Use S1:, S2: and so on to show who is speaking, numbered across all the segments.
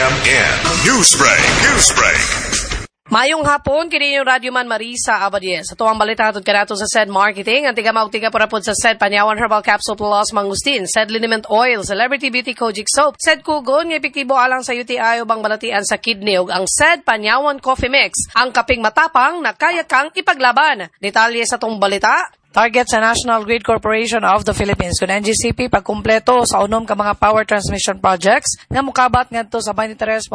S1: RMN Newsbreak, Newsbreak.
S2: Mayong hapon, kini yung Radyoman Marisa Abadie. Sa tuwang balita hatod kanato sa SED Marketing, ang tiga maugtiga purapod sa SED Panyawan Herbal Capsule Plus Mangustin, SED Liniment Oil, Celebrity Beauty Kojic Soap, SED Kugon nga epektibo alang sa UTI ubang balatian sa kidney ug ang SED Panyawan Coffee Mix, ang kaping matapang na kaya kang ipaglaban. Detalye sa tong balita. Target sa National Grid Corporation of the Philippines kun NGCP pagkumpleto sa unom ka mga power transmission projects nga mokabat ngadto sa 23.5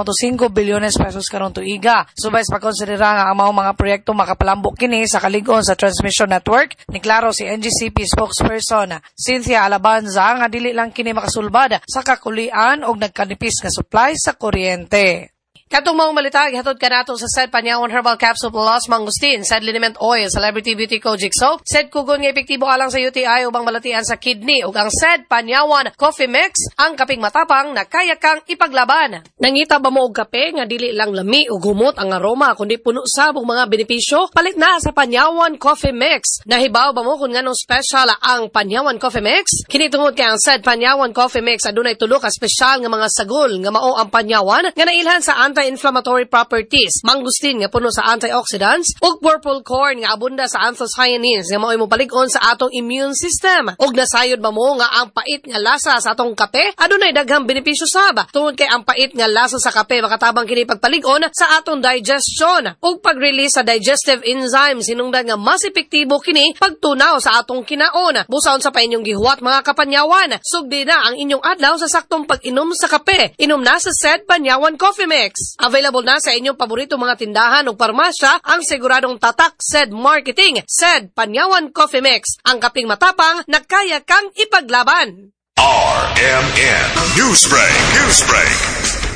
S2: bilyones pesos karon tuiga. Subay sa pagkonsidera nga ang maong mga proyekto makapalambok kini sa kalig-on sa transmission network, niklaro si NGCP spokesperson Cynthia Alabanza nga dili lang kini makasulbad sa kakulian og nagkanipis nga supply sa kuryente. Katong maong balita, gihatod kanato sa SED Panyawan Herbal Capsule Plus Mangustin, SED Liniment Oil, Celebrity Beauty Kojic Soap, SED Kugon nga epektibo alang sa UTI ubang balatian sa kidney ug ang SED Panyawan Coffee Mix, ang kaping matapang na kaya kang ipaglaban. Nangita ba mo og kape nga dili lang lami ug humot ang aroma kundi puno sab og mga benepisyo? Palit na sa Panyawan Coffee Mix. Nahibaw ba mo kung nganong special ang Panyawan Coffee Mix? Kini tungod kay ang SED Panyawan Coffee Mix adunay tulo ka espesyal nga mga sagol nga mao ang Panyawan nga nailhan sa anti-inflammatory properties, mangustin nga puno sa antioxidants, ug purple corn nga abunda sa anthocyanins nga mao'y mopalig-on sa atong immune system. Ug nasayod ba mo nga ang pait nga lasa sa atong kape adunay daghang benepisyo sab? Tungod kay ang pait nga lasa sa kape makatabang kini pagpalig-on sa atong digestion ug pag-release sa digestive enzymes, hinungdan nga mas epektibo kini pagtunaw sa atong kinaon. Busa unsa pa inyong gihuwat, mga kapanyawan? Sugdi na ang inyong adlaw sa saktong pag-inom sa kape. Inom na sa SED Panyawan Coffee Mix. Available na sa inyong paborito mga tindahan o parmasya ang siguradong tatak SED Marketing, SED Panyawan Coffee Mix, ang kaping matapang na kaya kang ipaglaban.
S1: RMN Newsbreak, Newsbreak.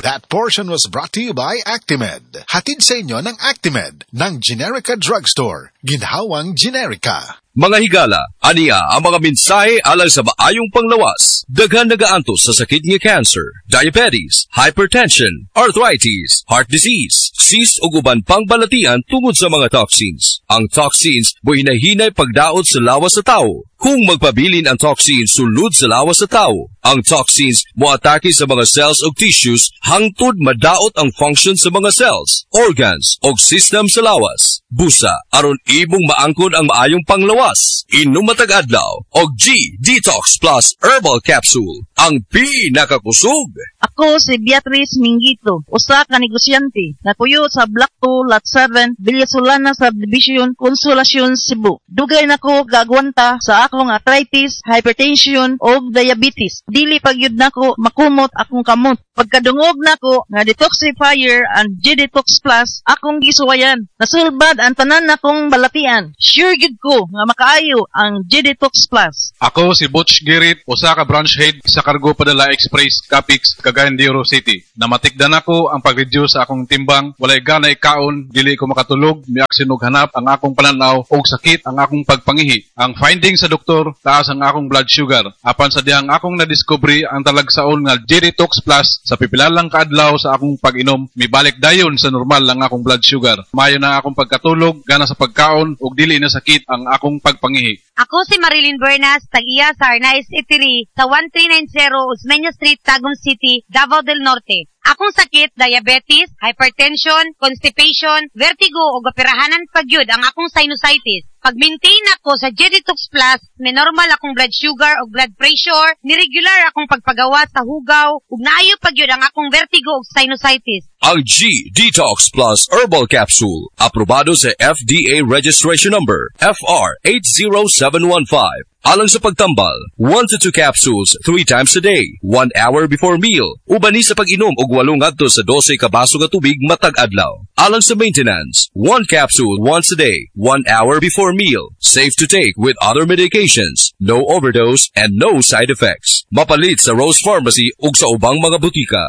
S3: That portion was brought to you by Actimed. Hatid sa inyo ng Actimed ng Generica Drugstore. Ginhawang Generika.
S4: Mga higala, aniya ang mga mensahe alang sa maayong panglawas. Daghan nagaantos sa sakit nga cancer, diabetes, hypertension, arthritis, heart disease, cyst ug uban pang balatian tungod sa mga toxins. Ang toxins buhinahinay pagdaot sa lawas sa tao. Kung magpabilin ang toxins sulod sa lawas sa tao, ang toxins moatake sa mga cells ug tissues hangtod madaot ang function sa mga cells, organs ug system sa lawas. Busa, aron imong maangkon ang maayong panglawas, inom matag adlaw og G Detox Plus Herbal Capsule, ang pinakakusog.
S5: Ako si Beatrice Mingito, usa ka negosyante, napuyo sa Block 2, Lot 7, Villa Solana Subdivision, Consolacion, Cebu. Dugay nako gagwanta sa akong arthritis, hypertension ug diabetes. Dili pagyud nako makumot akong kamot. Pagkadungog nako nga detoxifier ang G-Detox Plus, akong gisuwayan. Nasulbad ang tanan nakong balatian. Sure gyud ko nga makaayo ang G-Detox Plus.
S6: Ako si Butch Girit, usa ka branch head sa Cargo Padala Express, Capix, Cagayan de Oro City. Namatikdan ako ang pag-reduce sa akong timbang, walay gana ikaon, dili ko makatulog, miaksyon og hanap ang akong pananaw og sakit ang akong pagpangihi. Ang finding sa doktor, taas ang akong blood sugar. Apan sa dihang akong nadiskubre ang talagsaon nga G-Detox Plus, sa pipila lang kaadlaw sa akong pag-inom, mibalik dayon sa normal ang akong blood sugar. Mayo na akong pagkatulog, gana sa pagkaon ug dili na sakit ang akong pagpangihi.
S7: Ako si Marilyn Bernas, tag-iya sa Arnaiz Itiri, sa 1390 Osmeña Street, Tagum City, Davao del Norte. Akong sakit, diabetes, hypertension, constipation, vertigo ug operahanan pagyud ang akong sinusitis. Pag-maintain ako sa G-Detox Plus, may normal akong blood sugar ug blood pressure, ni-regular akong pagpagawa sa hugaw, ug naayo pagyud ang akong vertigo ug sinusitis.
S4: Ang G Detox Plus Herbal Capsule, aprobado sa FDA registration number FR 80715. Alang sa pagtambal, 1 to 2 capsules 3 times a day, 1 hour before meal. Uban ni sa pag-inom og 8 ngadto sa 12 ka baso nga tubig matag adlaw. Alang sa maintenance, 1 capsule once a day, 1 hour before meal. Safe to take with other medications. No overdose and no side effects. Mapalit sa Rose Pharmacy ug sa ubang mga butika.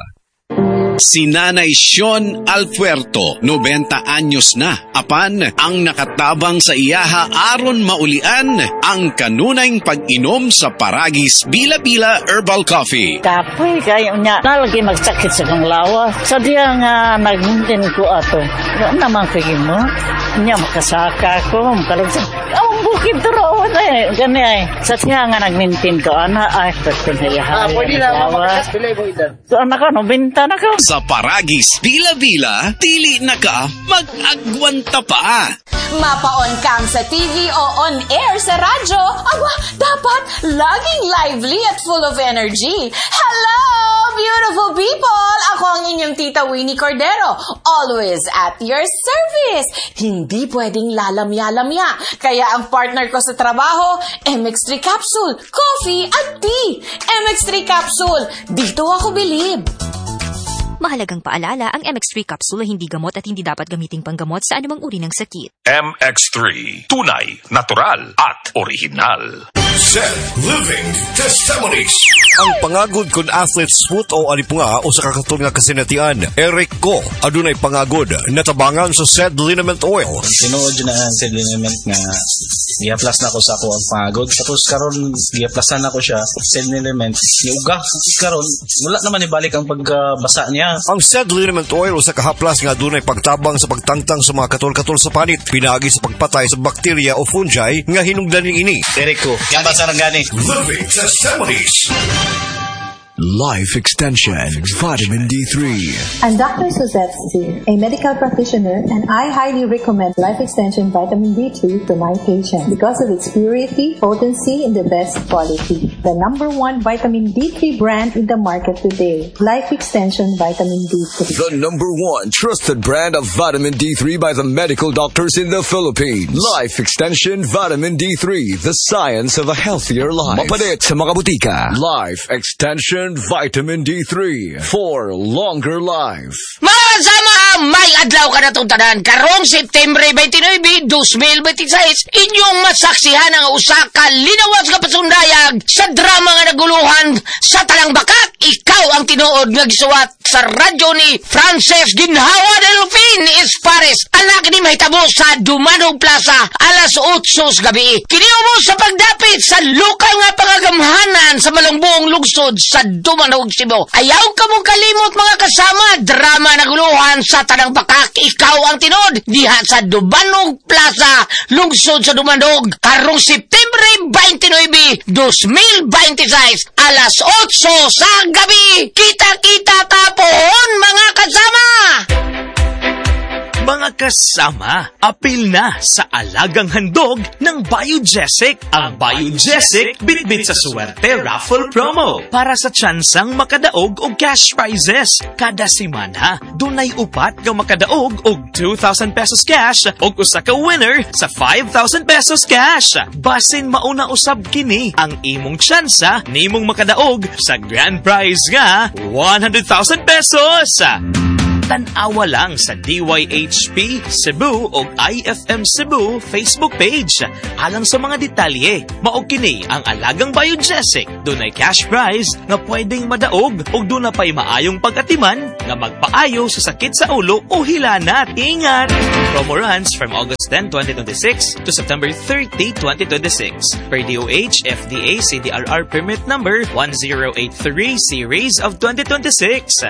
S8: Si Nanay Sion Alfuerto, 90 anyos na, apan ang nakatabang sa iyaha aron maulian ang kanunayng pag-inom sa Paragis Bila-Bila Herbal Coffee.
S9: Kapoy kayo niya. Nalagi magsakit sa kong lawa. Sa diya nga nagmuntin ko ato. Wa naman kay mo. Nya makasaka ko. Makalagsa. Oh, Ang bukid to raw eh. Gani ay. Sa siya nga nag-maintain ko, ana ay,
S10: Ah, pwede na, pila mo edad.
S9: So anak ko, 90 na ko.
S8: Sa Paragis Bila-Bila, dili na ka mag-agwanta pa.
S11: Mapa-on cam sa TV o on air sa radyo, aba, dapat laging lively at full of energy. Hello, beautiful people! Ako ang inyong Tita Winnie Cordero, always at your service. Hindi pwedeng lalamya-lamya. Kaya ang partner ko sa trabaho, MX3 Capsule, coffee at tea. MX3 Capsule, dito ako bilib.
S12: Mahalagang paalala, ang MX3 capsule ay hindi gamot at hindi dapat gamiting panggamot sa anumang uri ng sakit.
S1: MX3. Tunay, natural, at orihinal.
S3: Z Living Testimonies.
S4: Ang pangagod kun athlete's foot o alipunga o sa kakatol nga kasinatian, Eric Ko, adunay pangagod, natabangan sa said liniment oil.
S13: Tinuod na ang said liniment nga gihaplas na ko sa ako ang pangagod. Tapos karon gihaplasan na ko siya, said liniment, niuga. Karon wala naman ibalik ang pagkabasa niya.
S4: Ang said liniment oil o sa kahaplas nga adunay pagtabang sa pagtangtang sa mga katol-katol sa panit, pinaagi sa pagpatay sa bakterya o fungi nga hinungdan ini.
S13: Eric Ko, yan ba sarangani?
S3: Living Testimonies.
S14: Life Extension Vitamin D3.
S15: I'm Dr. Suzette Z, a medical practitioner, and I highly recommend Life Extension Vitamin D3 to my patients because of its purity, potency, and the best quality. The number one vitamin D3 brand in the market today, Life Extension Vitamin D3.
S14: The number one trusted brand of vitamin D3 by the medical doctors in the Philippines. Life Extension Vitamin D3, the science of a healthier life. Mapalit sa mga butika. Life Extension Vitamin D3 for longer life.
S16: Mga sama, may adlaw ka na itong tanan. Karong September 29, 2026, inyong masaksihan ang usa ka linawas nga pasundayag sa drama nga naguluhan sa Talang Bakak. Ikaw ang tinuod nga gisuwat sa radyo ni Frances Ginhawa Delfin Espares. Anak ni mahitabo sa Dumanog Plaza alas 8 sa gabi. Kiniubo sa pagdapit sa lokal nga pangagamhanan sa malungbuong lungsod sa Dumanog, Cebu. Ayaw ka mong kalimot mga kasama, drama naguluhan sa Tanang Bakak. Ikaw ang tinuod diha sa Dumanog Plaza, lungsod sa Dumanog, karong September 29, 2026, alas 8 sa gabi. Kita-kita tapon mga kasama!
S17: Mga kasama, apil na sa alagang handog ng Biogesic. Ang Biogesic, bitbit sa suwerte raffle promo para sa tsansang makadaog og cash prizes. Kada semana, dunay upat nga makadaog og 2,000 pesos cash og usa ka winner sa 5,000 pesos cash. Basin mauna usab kini ang imong tsansa nimong makadaog sa grand prize nga 100,000 pesos. Tan-awa lang sa DYHP Cebu o IFM Cebu Facebook page. Alang sa mga detalye, mao kini ang alagang Biogesic. Dunay cash prize nga pwedeng madaog ug duna pay maayong pag-atiman nga magpaayo sa sakit sa ulo o hilanat. Ingat! Promo runs from August 10, 2026 to September 30, 2026. Per DOH FDA CDRR permit number 1083 series of 2026.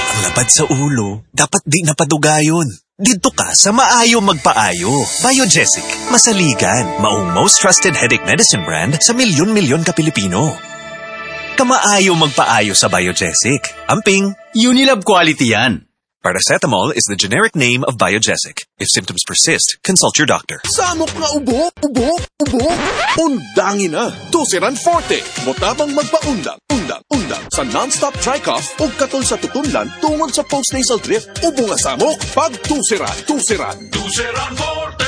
S18: Ang labad sa ulo, dapat di napadugayon. Didto ka sa maayo magpaayo. Biogesic, masaligan, maong most trusted headache medicine brand sa milyon-milyon ka Pilipino. Kamaayo magpaayo sa Biogesic. Amping.
S19: Unilab quality yan.
S18: Paracetamol is the generic name of Biogesic. If symptoms persist, consult your doctor.
S20: Samok nga ubo, ubo, ubo. Undangin na. Tuseran Forte. Motabang magpaundang, undang, undang. Sa non-stop dry cough o katol sa tutunlan tungod sa postnasal drip. Ubo nga samok pag Tuseran, Tuseran.
S1: Tuseran Forte.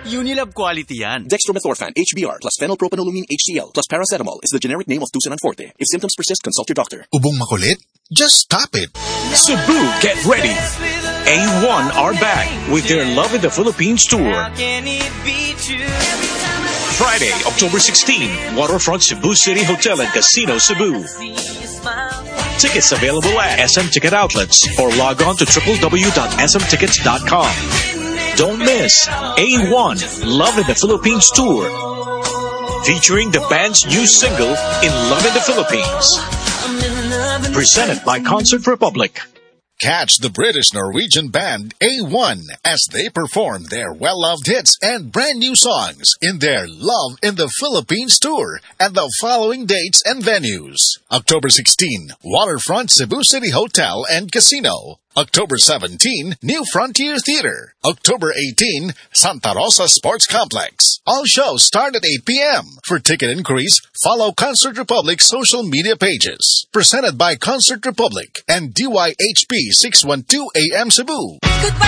S19: Unilab quality yan.
S20: Dextromethorphan HBr plus phenylpropanolamine HCl plus paracetamol is the generic name of Tuseran Forte. If symptoms persist, consult your doctor.
S3: Ubong makulit? Just stop it.
S21: Cebu, get ready. A1 are back with their Love in the Philippines tour. Friday, October 16, Waterfront Cebu City Hotel and Casino, Cebu. Tickets available at SM Ticket Outlets or log on to www.smtickets.com. Don't miss A1 Love in the Philippines tour, featuring the band's new single, In Love in the Philippines. Presented by Concert Republic.
S3: Catch the British Norwegian band A1 as they perform their well-loved hits and brand new songs in their Love in the Philippines tour at the following dates and venues. October 16, Waterfront Cebu City Hotel and Casino. October 17, New Frontier Theater. October 18, Santa Rosa Sports Complex. All shows start at 8 p.m. For ticket inquiries, follow Concert Republic social media pages. Presented by Concert Republic and DYHP 612 AM Cebu.
S2: Goodbye.